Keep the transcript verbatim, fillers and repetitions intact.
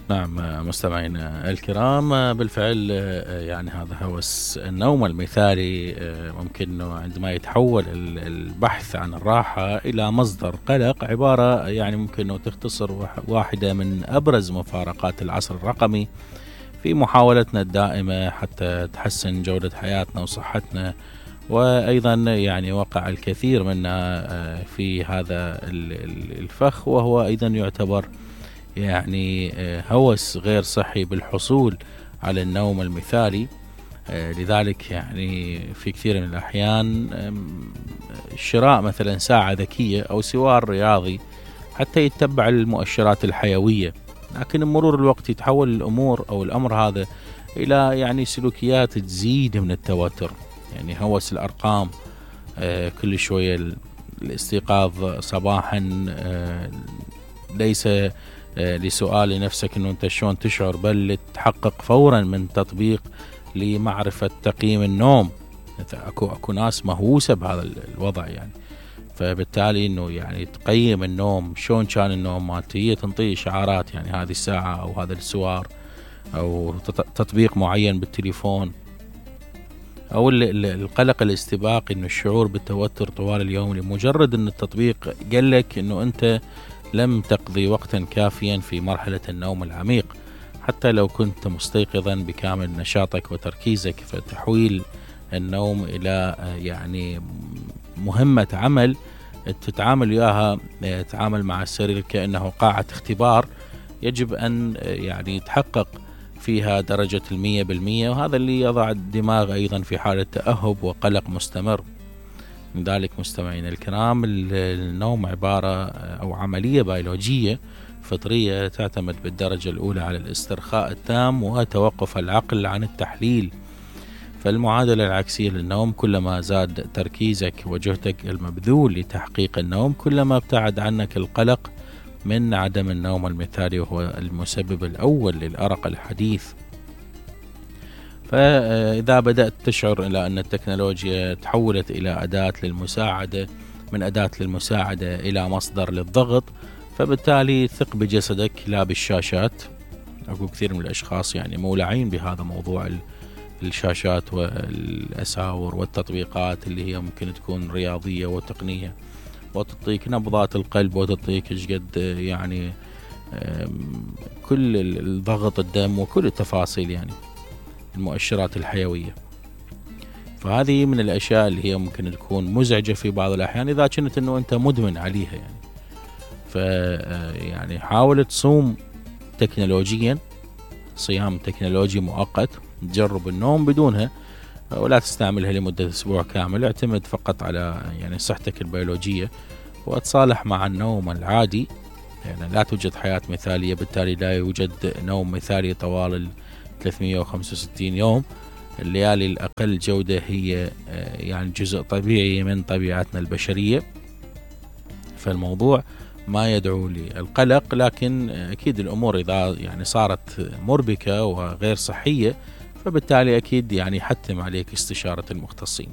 نعم مستمعينا الكرام، بالفعل يعني هذا هوس النوم المثالي ممكن انه عندما يتحول البحث عن الراحة الى مصدر قلق، عبارة يعني ممكن انه تختصر واحدة من ابرز مفارقات العصر الرقمي في محاولتنا الدائمة حتى تحسن جودة حياتنا وصحتنا. وايضا يعني وقع الكثير منا في هذا الفخ، وهو ايضا يعتبر يعني هوس غير صحي بالحصول على النوم المثالي. لذلك يعني في كثير من الأحيان شراء مثلا ساعة ذكية أو سوار رياضي حتى يتبع المؤشرات الحيوية، لكن مرور الوقت يتحول الأمور أو الأمر هذا إلى يعني سلوكيات تزيد من التوتر. يعني هوس الأرقام، كل شوية الاستيقاظ صباحا ليس لسؤال لنفسك انه انت شلون تشعر، بل تحقق فورا من تطبيق لمعرفة تقييم النوم. اكو اكو ناس مهووسة بهذا الوضع يعني، فبالتالي انه يعني تقيم النوم، شلون كان النوم مالتي، هي تنطي اشعارات يعني هذه الساعة او هذا السوار او تطبيق معين بالتليفون، او القلق الاستباقي، انه الشعور بالتوتر طوال اليوم لمجرد ان التطبيق قال لك انه انت لم تقضي وقتا كافيا في مرحلة النوم العميق حتى لو كنت مستيقظا بكامل نشاطك وتركيزك. فتحويل النوم إلى يعني مهمة عمل تتعامل وياها، تتعامل مع السرير كأنه قاعة اختبار يجب أن يعني يتحقق فيها درجة المية بالمية، وهذا اللي يضع الدماغ أيضا في حالة تأهب وقلق مستمر. من ذلك مستمعين الكرام، النوم عبارة أو عملية بيولوجية فطرية تعتمد بالدرجة الأولى على الاسترخاء التام وتوقف العقل عن التحليل. فالمعادلة العكسية للنوم، كلما زاد تركيزك وجهدك المبذول لتحقيق النوم كلما ابتعد عنك القلق من عدم النوم المثالي، وهو المسبب الأول للأرق الحديث. فإذا بدأت تشعر إلى أن التكنولوجيا تحولت إلى أداة للمساعدة، من أداة للمساعدة إلى مصدر للضغط، فبالتالي ثق بجسدك لا بالشاشات. أكو كثير من الأشخاص يعني مولعين بهذا موضوع الشاشات والأساور والتطبيقات اللي هي ممكن تكون رياضية وتقنية وتعطيك نبضات القلب وتعطيك شقد يعني كل الضغط الدم وكل التفاصيل يعني المؤشرات الحيوية. فهذه من الأشياء اللي هي ممكن تكون مزعجة في بعض الأحيان إذا كنت أنه أنت مدمن عليها يعني. ف يعني حاول تصوم تكنولوجيا، صيام تكنولوجي مؤقت، تجرب النوم بدونها ولا تستعملها لمدة أسبوع كامل. اعتمد فقط على يعني صحتك البيولوجية وتصالح مع النوم العادي. يعني لا توجد حياة مثالية، بالتالي لا يوجد نوم مثالي طوال ثلاثمية وخمسة وستين يوم. الليالي الأقل جودة هي يعني جزء طبيعي من طبيعتنا البشرية، فالموضوع ما يدعو للقلق. لكن أكيد الأمور إذا يعني صارت مربكة وغير صحية فبالتالي أكيد يعني حتم عليك استشارة المختصين.